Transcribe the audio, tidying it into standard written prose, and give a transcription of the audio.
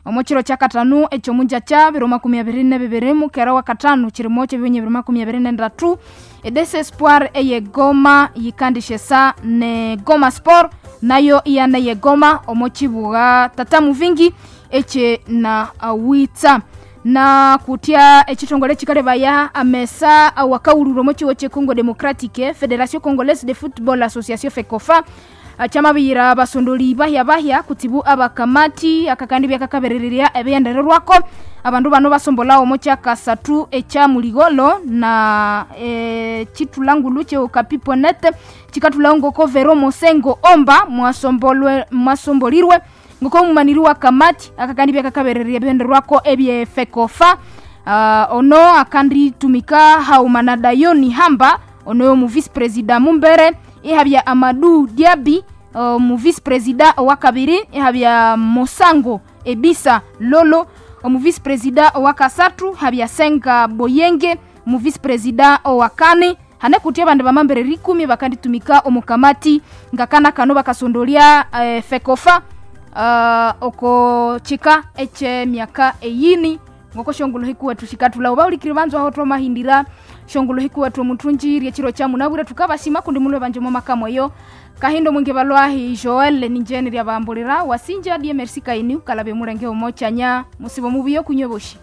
Omo kiro kya katanu ekyomunjakya 2022 mukera wa katanu kirimo kyebihunyi 2023 Edese Espoir eye Goma yikandishesa ne Goma Sport nayo iyana ye Goma omo kibuga tata muvingi ekye na awitsa na kutya ekitongole kikalebaya amesa awakawulura omo kiwo kye Congo Democratique Federation Congolaise de Football Association FECOFA kyamabiyira abasondoli bahya bahya kutsibu abakamati akakandi byakakaberererya ebiyendererwako abandu bano basombola omo kyakasathu ekya muligolo na chitulangulu kye okapiponet chikatulawo ngoko Vero Mosengo Omba mwasombolirwe ngoko omumaniri wa kamati akakandi byakakaberererya ebiyendererwako ebye FECOFA. Ono akanditumika hauma na Dayoni Hamba ono yomu vice president mumbere ihabya Amadou Diaby omu vice president owakabiri ihabya Mosango Ebisa Lolo omu vice president owakasathu habya Senga Boyenge mu vice president owakane hane kuti abandu bamambere rikumi bakanditumika omu kamati ngakana kano bakasondolya FECOFA oko chika eche myaka eyini ngoko shongolo hikuwetu shikatula baulikiri banzu aho twamahindira shongolo hikuwetu omuthunji ryekiro kya munabwire tukabasima kundi mulwe banje omo makamoyo kahindo mwingi balwahi Joel ninjeni ryabambulira wasinja die merci kaini ukalabe mulenge omo chanya musibo mubuyo kunywe boshi.